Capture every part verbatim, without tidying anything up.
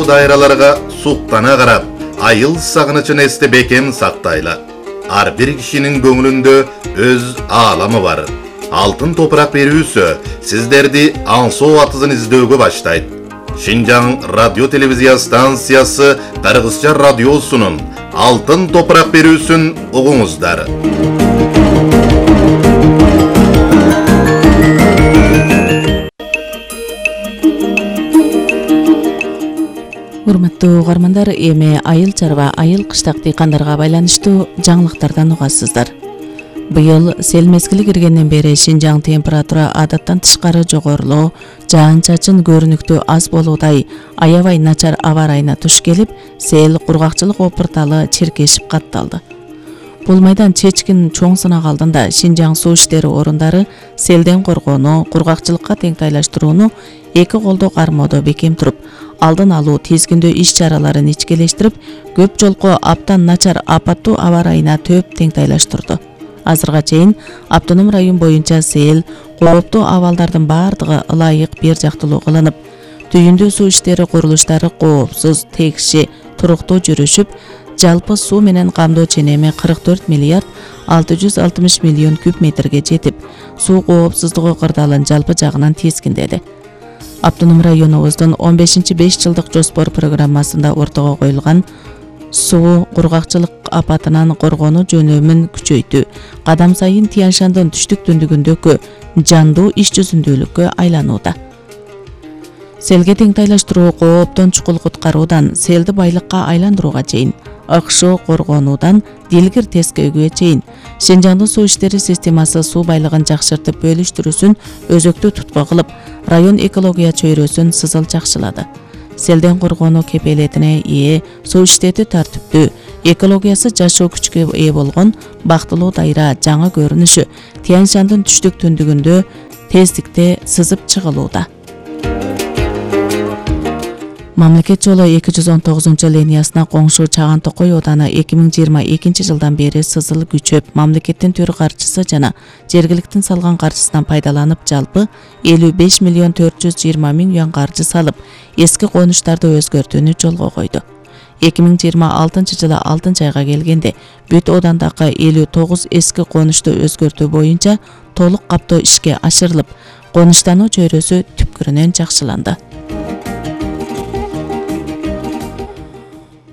дайраларга суктана карап, айыл сагынычын эсте бекем сактайлы. Ар бир кишинин көңүлүндө өз ааламы бар. Алтын топурак берүүсү сиздерди аңсоо атызын издөөгө баштайт. Шинжаң радио телевизия станциясы Кыргызча радиосунун Алтын топурак берүүсүн угуңуздар. Урматтуу угармандар, эми айыл чарба, айыл кыштак дыйкандарга байланыштуу жаңылыктардан угасыздар. Быйыл сел мезгили киргенден бери Шинжаң температура адаттан тышкары жогорулоо, жаан-чачын көрүнүктүү аз болуудай аябай начар аба ырайына туш келип, сел кургакчылык опурталы чиркешип катталды. Бул майдан чечкин чоң сынак алдында Шинжаң суу иштери орундары селден коргоону, кургакчылыкка теңтайлаштырууну эки колдо кармоодо бекем туруп, алдын алуу тизгиндөө иш чараларын ичкелештирип, көп жолку аптан начар апаттуу аба ырайына төп теңтайлаштырды. Азырга чейин автоном район боюнча сел, кооптуу абалдардын бардыгы ылайык бир жактылуу кылынып, түйүндүү суу иштери курулуштары коопсуз, текши, туруктуу жүрүшүп, жалпы суу менен камдоо ченеми кырк төрт миллиард алты жүз алтымыш миллион куб метрге жетип, суу коопсуздугу кырдаалын жалпы жагынан тизгиндеди. Автоном районубуздун он бешинчи беш жылдык жоспор программасында ортого коюлган суу кургакчылык апатынан коргонуу жөнөмүн күчөйтүү кадам сайын Тянь-Шандын түштүк түндүгүндөгү жандуу иш жүзүндүүлүккө айланууда. Селге теңтайлаштыруу кооптон чукул куткаруудан селди байлыкка айландырууга чейин, ыкшоо коргонуудан дилгир тескөөгө чейин Шинжаңдын суу иштери системасы суу байлыгын жакшыртып бөлүштүрүүсүн өзөктүү тутку кылып, район экология чөйрөсүн сызыл жакшылады. Селден коргонуу кепелетине ээ, суу иштети тартиптүү, экологиясы жашоо күчкө ээ болгон бактылуу дайра жаңы көрүнүшү Тянь-Шандын түштүк түндүгүндө тездикте сызып чыгылууда. Мамлекет жолу эки жүз он тогузунчу линиясына коңшу Чаган Токой ооданы эки миң жыйырма экинчи жылдан бери сызыл күчөп, мамлекеттин төр каржысы жана жергиликтин салган каржысынан пайдаланып, жалпы элүү беш миллион төрт жүз жыйырма миң юан каржы салып, эски конуштарды өзгөртүүнү жолго койду. эки миң жыйырма алтынчы жылы алтынчы айга келгенде бүт оодандагы элүү тогуз эски конушту өзгөртүү боюнча толук каптоо ишке ашырылып, конуштануу чөйрөсү түпкүрүнөн жакшыланды.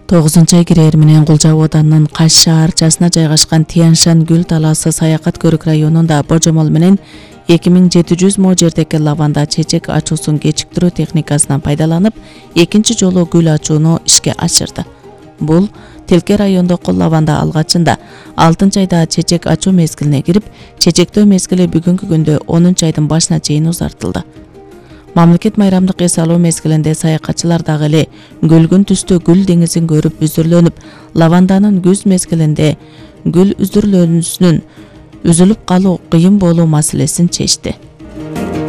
тогузунчу ай кирери менен Кулжа оодарынын Каш шаарчасына жайгашкан Тянь-Шань гүл талаасы Саякат көрүк районунда божомол менен эки миң жети жүз мо жердеги лаванда чечек ачуусун кечиктирүү техникасынан пайдаланып, экинчи жолу гүл ачууну ишке ашырды. Бул Тилке райондогу лаванда алгачында алтынчы айда чечек ачуу мезгилине кирип, чечектөө мезгили бүгүнкү күндө онунчу айдын башына чейин узартылды. Мамлекет майрамдык эс алуу мезгилинде саякатчылар дагы эле көлгүн түстө гүл деңизин көрүп үзүрлөнүп, лаванданын күз мезгилинде гүл үзүрлөнүүсүнүн үзүлүп калуу кыйын болуу маселесин чечти.